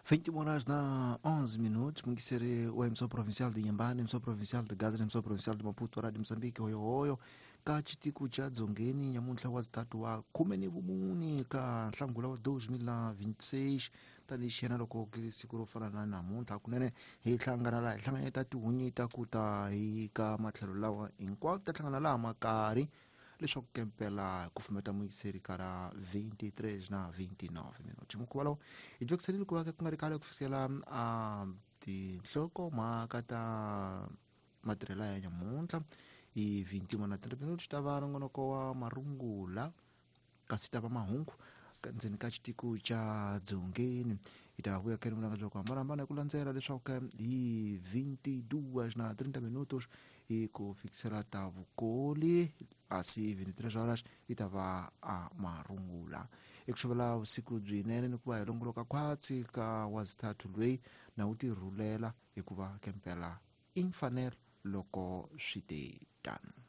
21 horas na 11 minutos, mungisere wa emissão provincial de Inhambane, emissão provincial de Gaza, emissão provincial de Maputo, Rádio Moçambique, hoyo hoyo, ka chitiku cha dzongeni nyamuntlha wa zitatu wa 14 ka nhlangula wa 2026 tanihi xiyena loko ku ri siku ro fana na namuntlha kunene hi hlangana laha hi hlanganyeta tihunyi ta ku ta hi ka matlhelo lawa hinkwawo ta hlangana laha makari leswaku kempela ku fumeta muyiseri ka ra 23 na 29 minuti mukhuva lowu hi twekiselile ku va ku nga ri khale ku fikela a tinhlokomhaka ta matirhelo ya nyamuntlha hi 21 na 30 minuti ta va nongonoko wa marungula kasi ta va mahungu ndzeni ka xitiko xa dzongeni hi ta vuya keni vulanga bya ku hambanahambana hi ku landzela leswaku hi 22 na 30 minutos hi ku fikisela ta vukoli asi 23 horas yi ta va a marungula i ku xuvela vusiku byinene ni ku va hi longoloka khwatsi ka wazithathu lweyi na wu tirhulela hikuva kempela i mfanelo loko swi te tano.